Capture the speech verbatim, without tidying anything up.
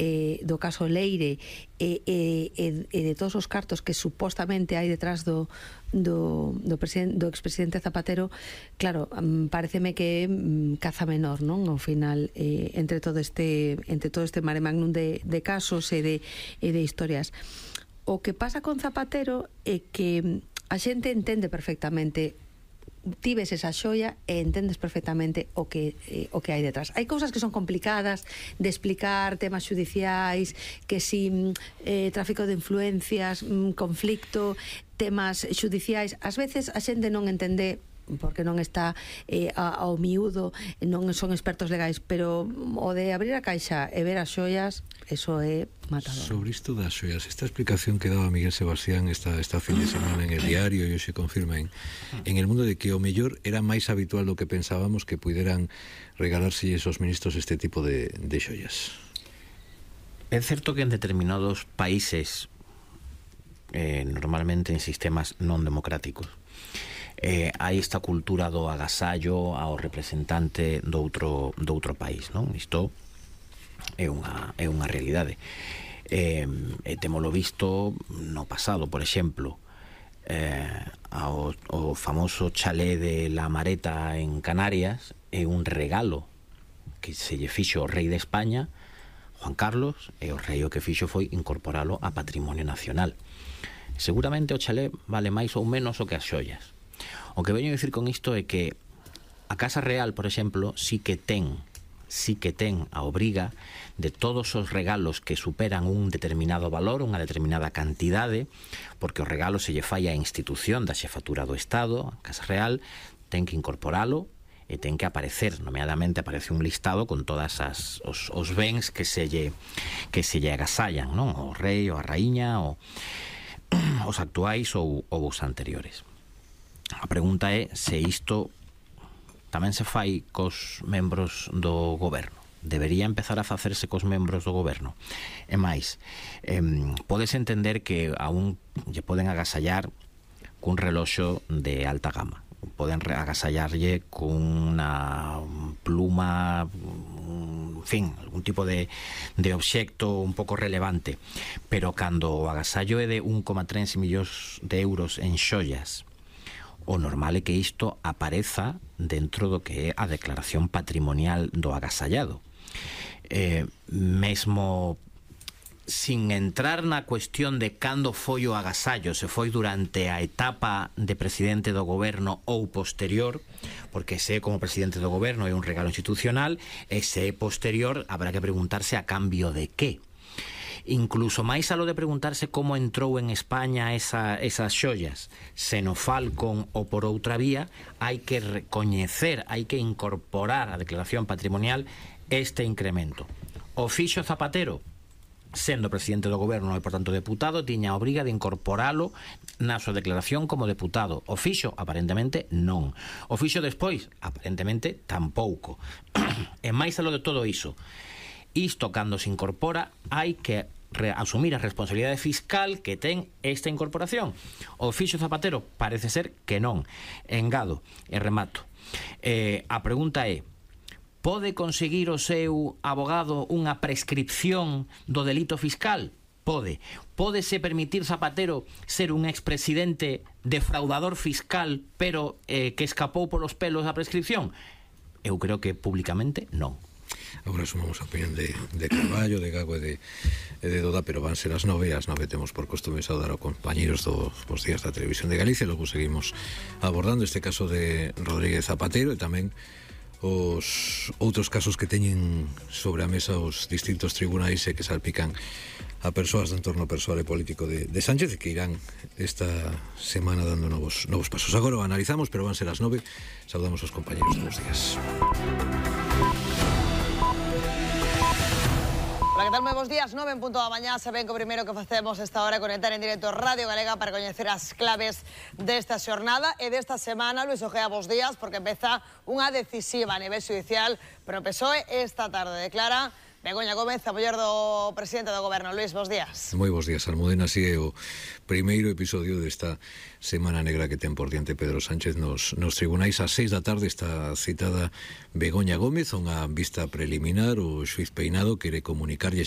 eh, do caso Leire e, e, e de todos os cartos que supostamente hai detrás do do, do, do expresidente Zapatero, claro, pareceme que um, caza menor, non? Ao final, eh, entre todo este entre todo este mare magnum de, de casos e de, e de historias. O que pasa con Zapatero é que a xente entende perfectamente, ti ves esa xoia e entendes perfectamente o que eh, o que hai detrás. Hai cousas que son complicadas de explicar, temas judiciais, que si eh, tráfico de influencias, mm, conflicto, temas judiciais, ás veces a xente non entende porque non está eh, ao miúdo, non son expertos legais, pero o de abrir a caixa e ver as xoias, eso é matador. Sobre isto das xoias, esta explicación que daba Miguel Sebastián esta, esta fin de semana en El Diario, e hoxe confirma en, en El Mundo, de que o mellor era máis habitual do que pensábamos que puderan regalarse esos ministros este tipo de, de xoias. É certo que en determinados países, eh, normalmente en sistemas non democráticos, eh, hai esta cultura do agasallo ao representante do outro, do outro país, non? Isto é unha, é unha realidade. Eh, e temolo visto no pasado, por exemplo, eh, ao, o famoso chalé de La Mareta en Canarias é un regalo que se lle fixo o rei de España, Juan Carlos, e o rei o que fixo foi incorporalo a Patrimonio Nacional. Seguramente o chalé vale máis ou menos o que as xoias. O que veño a dicir con isto é que a Casa Real, por exemplo, sí que ten sí que ten a obriga de todos os regalos que superan un determinado valor, unha determinada cantidade, porque o regalo se lle fai á institución da xefatura do Estado, a Casa Real, ten que incorporalo e ten que aparecer, nomeadamente aparece un listado con todas as os, os bens que se lle que se lle agasallan, non? O rei, ou a raíña, ou os actuais ou, ou os anteriores. A pregunta é se isto tamén se fai cos membros do goberno. Debería empezar a facerse cos membros do goberno. E máis, eh, podes entender que aún lle poden agasallar cun reloxo de alta gama, poden agasallarlle cunha pluma, en fin, algún tipo de, de obxecto un pouco relevante, pero cando o agasallo é de un coma tres millóns de euros en xoias, o normal é que isto apareza dentro do que é a declaración patrimonial do agasallado. Eh, mesmo sin entrar na cuestión de cando foi o agasallo, se foi durante a etapa de presidente do goberno ou posterior, porque se é como presidente do goberno é un regalo institucional, e se é posterior habrá que preguntarse a cambio de que. Incluso máis a lo de preguntarse como entrou en España esa, esas xollas, se no Falcon ou por outra vía, hai que recoñecer, hai que incorporar a declaración patrimonial este incremento. O fixo Zapatero, sendo presidente do goberno e por tanto deputado, tiña a obriga de incorporalo na súa declaración como deputado. O fixo, aparentemente, non. O fixo despois, aparentemente, tampouco. E máis a lo de todo iso, isto cando se incorpora hai que asumir a responsabilidade fiscal que ten esta incorporación. O fixo Zapatero parece ser que non. Engado e remato. Eh, a pregunta é: pode conseguir o seu abogado unha prescripción do delito fiscal? Pode. Pódese permitir Zapatero ser un expresidente defraudador fiscal pero eh, que escapou polos pelos da prescripción? Eu creo que públicamente non. Agora sumamos a opinión de, de Carballo, de Gago e de, e de Doda, pero van ser as nove, as nove temos por costume saudar aos compañeros dos, dos días da Televisión de Galicia. Logo seguimos abordando este caso de Rodríguez Zapatero e tamén os outros casos que teñen sobre a mesa os distintos tribunais e que salpican a persoas do entorno persoal e político de, de Sánchez, que irán esta semana dando novos, novos pasos. Agora o analizamos, pero van ser as nove. Saudamos aos compañeros dos días. Hola, que tal? Moi bons días, nove en punto da mañá. Saben que o primeiro que facemos esta hora é conectar en directo Radio Galega para coñecer as claves desta xornada e desta semana. Luis Ojea, bons días, porque empeza unha decisiva a nivel judicial, pero o P S O E esta tarde declara Begoña Gómez, a muller do presidente do goberno. Luis, bons días. Moi bons días, Almudena. Así é o primeiro episodio desta semana negra que ten por diante Pedro Sánchez nos, nos tribunais. Ás seis da tarde está citada Begoña Gómez, unha vista preliminar. O xuiz Peinado quere comunicarlle